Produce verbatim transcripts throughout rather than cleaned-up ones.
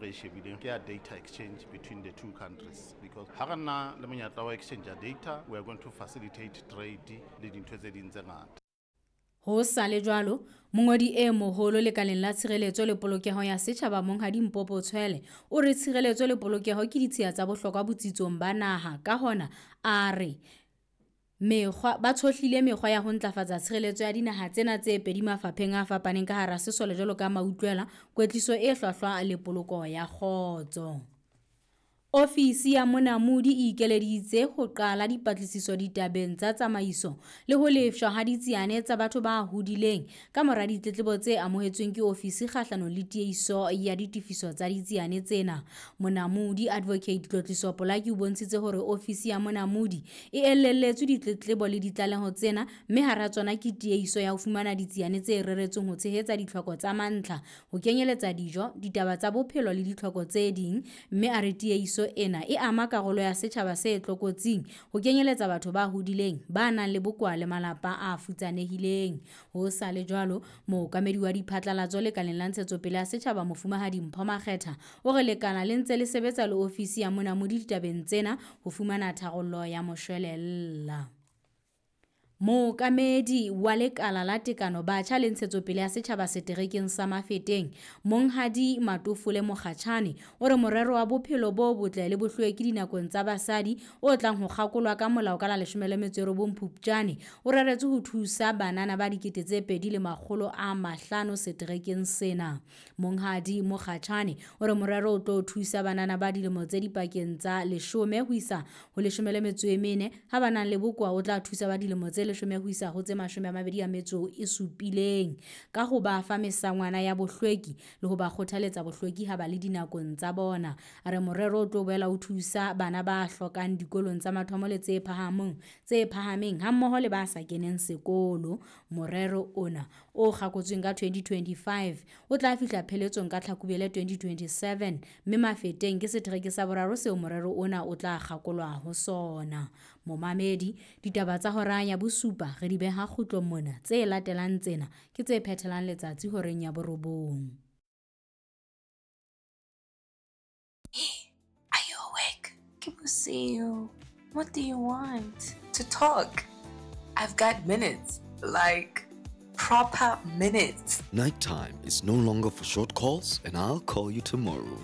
re e shebileng ke ya data exchange between the two countries because ha re na le monyetla wa exchange ya data we are going to facilitate trade le dintho tse ding tse ngata. Ho sa le jwalo, mongodi e moholo lekaleng la tshireletso le polokeho ya setjhaba Monghadi Mpopo Tshwele o re tshireletso le polokeho ke ditshiya tsa bohlokwa botsitsong ba naha ka hona a re mekgwa ba tshohlile mekgwa ya ho ntlafatsa tshireletso ya dinaha tsena tse pedi mafapheng a fapaneng ka hara sesole jwalo ka mautlwela, kwetliso e hlwahlwa le poloko ya kgotso. Ofisi ya Monamodi e ikeleditse ho qala dipatlisiso ditabeng tsa tsamaiso le ho lefshwa ha ditsiane tsa batho ba hodileng ka mora ditletlebo tse amohetsweng ke ofisi kgahlanong le tiehiso ya ditefiso tsa ditsiane tsena. Monamodi Advocate Tlotliso Polaki o bontshitse hore ofisi ya Monamodi e elelletswe ditletlebo le ditlaleho tsena mme hara tsona ke tiehiso ya ho fumana ditsiane tse reretsweng ho tshehetsa ditlhoko tsa mantlha, ho kenyeletsa dijo, ditaba tsa bophelo le ditlhoko tse ding, mme a re tiehiso ena e ama karolo ya setjhaba se tlokotsing ho kenyeletsa batho ba hodileng, ba nang le bokowa le malapa a futsanehileng. Ho sa le jwalo, mookamedi wa diphatlalatso lekaleng la ntshetsopele ya setjhaba Mofumahadi Mpho Makgetha o re lekala le ntse le sebetsa le ofisi ya Monamodi ditabeng tsena ho fumana tharollo ya moshwelella. Mookamedi wa lekala la tekano batjha le ntshetsopele ya setjhaba seterekeng sa Mafeteng, Monghadi Matofole Mokgatjhane o re morero wa bophelo bo botle le bohlweki dinakong tsa basadi o tlang ho kgakolwa ka molao ka la leshome le metso e robong Phupjane o reretswe ho thusa banana ba dikete tse pedi le makgolo a mahlano seterekeng sena. Monghadi Mokgatjhane o re morero o tlo thusa banana ba dilemo tse dipakeng tsa leshome ho isa ho leshome le metso e mene, ha ba nang le bokowa o tla thusa ba dilemo tse leshome ho isa ho tse mashome a mabedi a metso e supileng ka ho ba fa mesangwana ya bohlweki le ho ba kgothaletsa bohlweki ha ba le dinakong tsa bona. A re morero o tlo boela o thusa bana ba hlokang dikolong tsa mathomo le tse phahameng, tse phahameng hammoho le ba sa keneng sekolo. Morero ona o kgakotsweng ka twenty twenty-five o tla fihla pheletsong ka Tlhakubele twenty twenty-seven mme Mafeteng ke setereke sa boraro seo morero ona o tla kgakolwa ho sona. Momamedi, ditaba tsa hora ya bosupa re di beha kgutlong mona, tse latelang tsena ke tse phethelang letsatsi horeng ya borobong. Hey, are you awake? Ke bosiu. What do you want? To talk. I've got minutes. Like proper minutes. Nighttime is no longer for short calls, and I'll call you tomorrow.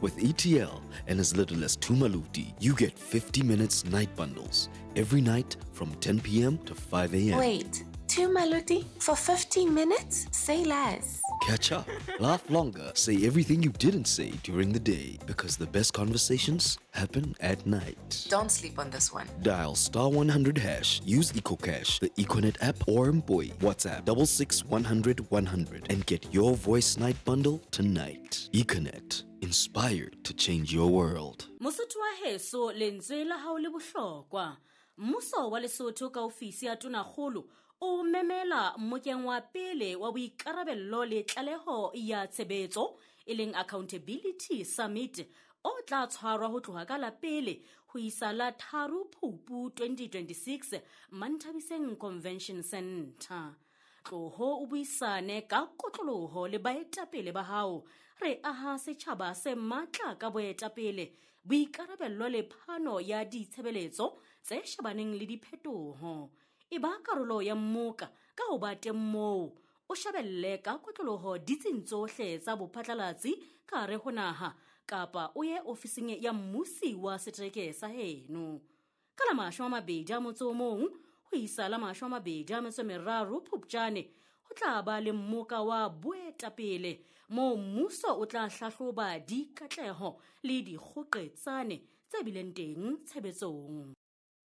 With E T L and as little as two maluti, you get fifty minutes night bundles every night from ten p m to five a m. Wait, two maluti for fifteen minutes? Say less. Catch up, laugh longer, say everything you didn't say during the day, because the best conversations happen at night. Don't sleep on this one. Dial star one hundred hash, use EcoCash, the Econet app, or Mpoi. WhatsApp double six one hundred one hundred and get your voice night bundle tonight. Econet, inspired to change your world. Mosotho wa heso, lentswe la hao le bohlokwa. Mmuso wa Lesotho ka ofisi ya Tonakgolo o memela mmokeng wa pele wa boikarabello le tlaleho ya tshebetso e leng Accountability Summit o tla tshwarwa ho tloha ka la pele ho isa la tharo Phupu twenty twenty-six Manthabiseng Convention Center. Tloho o buisane ka kotloloho le baetapele ba hao. Re aha setjhaba se matla ka boetapele, boikarabello le phano ya ditshebeletso tse shebaneng le diphetoho. E ba karolo ya mmoka ka ho ba teng moo, o shebelle ka kotloloho ditsing tsohle tsa bophatlalatsi ka hare ho naha kapa o ye ofising ya mmusi wa setereke sa heno. Ka la mashome a mabedi a motso o mong ho isa la mashome a mabedi a metso e meraro Phupjane ho tla ba le mmoka wa boetapele moo mmuso o tla hlahloba dikatleho le dikgoqetsane tse bileng teng tshebetsong.